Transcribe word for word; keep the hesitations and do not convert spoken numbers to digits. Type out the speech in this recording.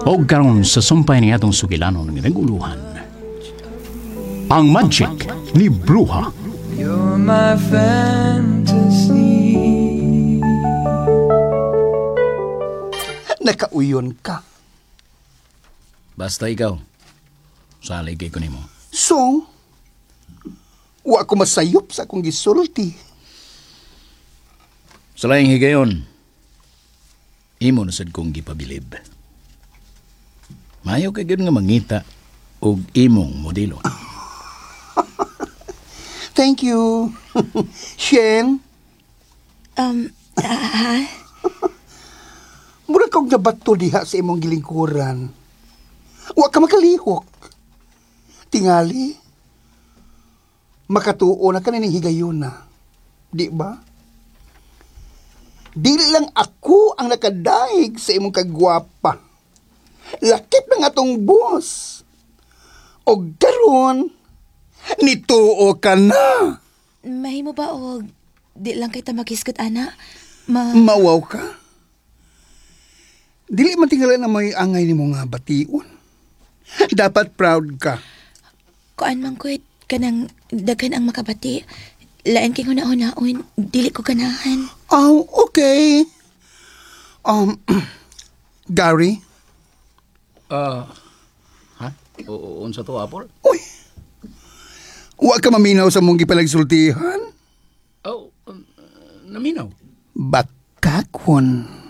Og karon sa sumpay ni atong sugilanon nga naguluhan. Ang Magic ni Bruha. You're my fantasy. Nakauyon ka. Basta ikaw. Salig kay ko nimo. So, wa ko masayop sa akong gisulti. Sa laing higayon, imo na sad kong gipabilib. Mayo kay gyud nga mangita og imong modelo. Thank you. Shen, Um, ah, ha? mura kog nabato diha sa imong gilingkuran. Wa ka makalihok. Tingali, makatuo na kanining higayon na. Di ba? Dili lang ako ang nakadaig sa imong kagwapa. Lakip ng atong boss. Og karon, nituo ka na. Mahimo ba og di lang kita makisgot, ana? Ma... Mawaw ka. Dili man tingala na may angay nimo nga bation. Dapat proud ka. Kuan man ko kanang daghan ang makabati. Lain kay huna-hunaon, dili ko ganahan. Oh, okay. Um, Gary? Ah, ha? O, unsa to, Apple? Uy, wa ka maminaw sa mong gipalagsultihan? Oh, um, naminaw. Bakakon.